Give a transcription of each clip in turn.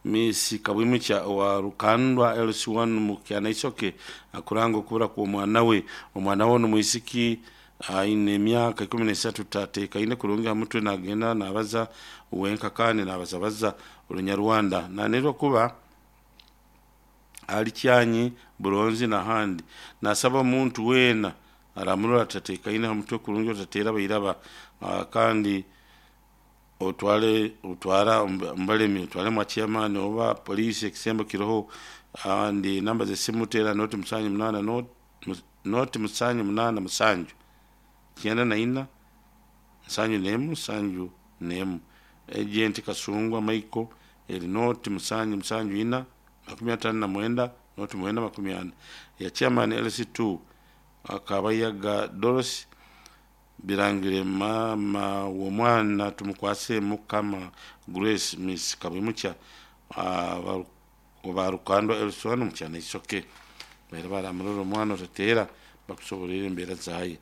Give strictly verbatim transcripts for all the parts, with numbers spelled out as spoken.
Miss Kabwimukya owa Rukandwa L C one mu Kyanaisoke akuranga okubura kw'omwana we. Omwana we n'omwisiki aine emyaka ikumi n'esatu, tateekaine kurungi aha mutwe, nagenda nabaza wenka kandi nabazabaza Orunyarwanda. Nanirwa kuba ali Kyanyi, Buronzi n'ahandi. Nasaba omuntu weena aramurora atateekaine aha mutwe kurungi, otateera bairaba, kandi otwale otwara omubalemi, otwale mwa chairman oba poliisi ekisembo kiroho. Kandi namba z'esimu teera noti musanju munaana noti musanju munaana musanju kyenda na ina nsanju n'emu nsanju n'emu. Agent Kasungwa Michael eri noti musanju musanju ina makumi ataano na mwenda noti mwenda makumi ana. Ya chairman L C two Akabayaga Doros birangire mama w'omwana tumukwase Mukama Grace Miss Kabwimukya oba Rukandwa L C one mu Kyanaisoke. Baire baramurora omwana otateera bakusoborera embeera zaye.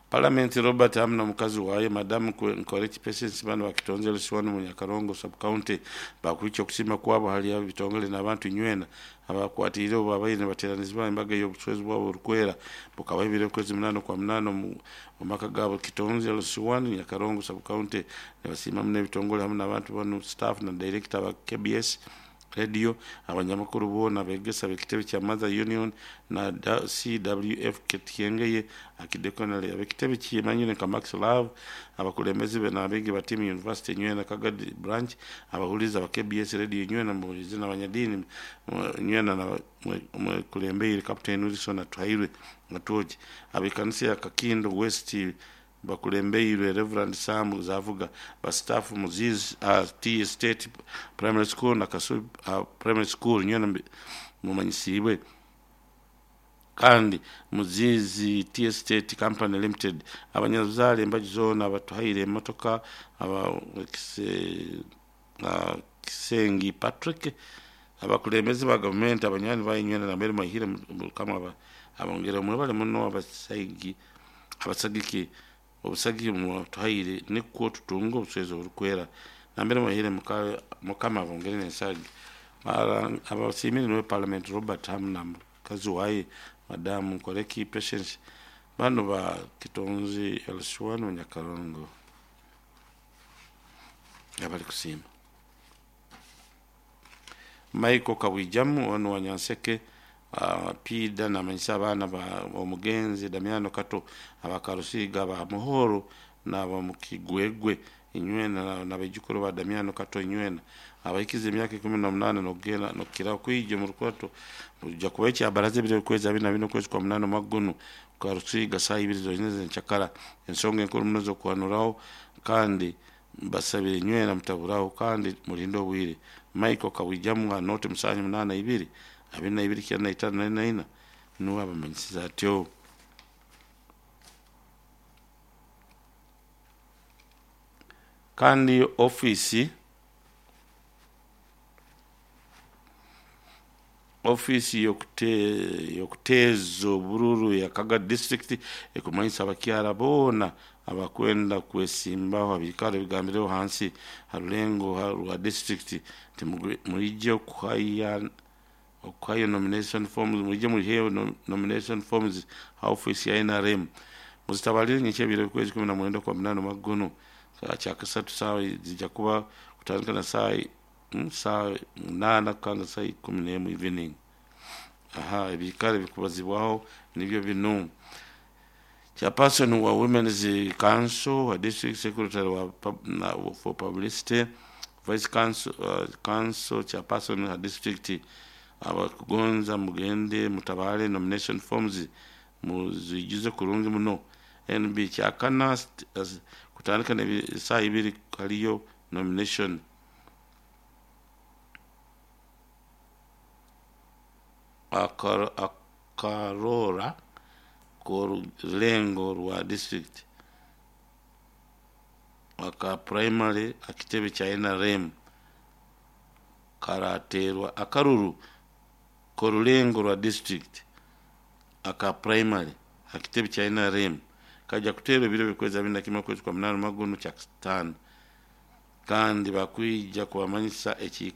Parliament Robert hamu n'omukazi waye Madamu Nkoreki Patience bano bakitonze L C one mu Nyakarongo sub county bakwikya okusiima kwabo hali ebitongole n'abantu nywena abakwatiire obu babaire nibateeranizibwa embaga y'obucwezi bwabo oburukwera bukaba ebiro okwezi munaana okwa munaana omu maka gaabo Kitonze L C one Nyakarongo sub county. Nibasiima muno ebitongole hamu n'abantu banu, staff na director ba K B S Radio, abanyamakuru boona abegesa b'ekitebe kya Mother Union na C W F Kityengeye akidekonale, ab'ekitebe kimanyire nka Max Love, abakulembeze be n'abeegi ba Team University nywena Kagadi branch, abahuliza ba K B S Radio nywena mubulizi n'abanyadiini nywena na mukulembeire Captain Wilson Atuhairwe Atuoji, ab'ekanisa ya Kakindo West bakulembeirwe Reverend Sam Zavuga, ba staff Muzizi uh, T State Primary School na Kasu uh, Primary School nywena mumanyisibwe, kandi Muzizi T State Company Limited, abanyabuzaale embaju zoona abatuhaire emotoka, aba kise, uh, Kisengi Patrick, abakulembeze ba gavumenti, abanywani bayo nywena nambere mwahire mukama abongere mwebale muno abasaigi abasagiki obusagi mwatuhaire nikwo tutunga obucwezi oburukwera nambere mwahire mukama abongere n'ensagi. Abasimire niwe Parliament Robert hamu na mukazi waye Madamu Nkoreki Patience bano ba Kitonzi L C one Nyakarongo abali kusiima. Michael Kawijamu ono wa Nyanseke uh, Pida namanyisa abaana ba omugenzi Damiano Kato abakarusiga ba Muhoro n'aba Mukigwegwe inywena n'abajukuru ba Damiano Kato inywena abahikize emyaka ikumi na munana nokugenda nokukira kwija mu rukwato buja kuba ekyabaraza ebiro okwezi abiri na bina okwezi kwa munana omwaka guno karusiga saa ibiri zonyine z'enkyakara. Ensonga enkuru muno z'okuhanuraho kandi mbasabire nywena mutaburaho kandi mulinde obwire. Michael Kawijamu noti musanju munana ibiri abiri na ibiri kyenda na itaano na ina nuwe abamanyisiza atyo. Kandi ofiisi ofiisi y'okuteeza obururu ya Kaga district ekumanyisa abakyara boona abakwenda kwesimbaho abikaro ebigambireho hansi ha rulengo rwa district nti mwije okuhaya okuhayo nomination forms, mwije muliheyo nomination forms ha office ya N R M. Muzitabalire nyenkya ebiro okwezi kumi na mwenda kwa munana omwaka guno kyakasatu saawa zijja kuba kutandika na saa saa munaana kukanga saa ikumi n'emu evening. Aha ebikaro ebikubazibwaho nibyo bino: chairperson wa Women's Council wa district secretary wa na, for publicity, vice council, uh, council chairperson wa district. Abakugonza mugende mutabale nomination forms muzijuze kurungi muno. N B kyakana kutandika na saa ibiri haliyo nomination. Akar, akarora k'orulengo rwa district aka primary akitebe kya N R M karaterwa akaruru k'orulengo rwa district aka primary akitebe kya N R M kajja kuteerwa ebiro by'okwezi abiri na kimwe okwezi kwa munana omwaka guno kyakataano, kandi bakwija kubamanyisa ekiikaro.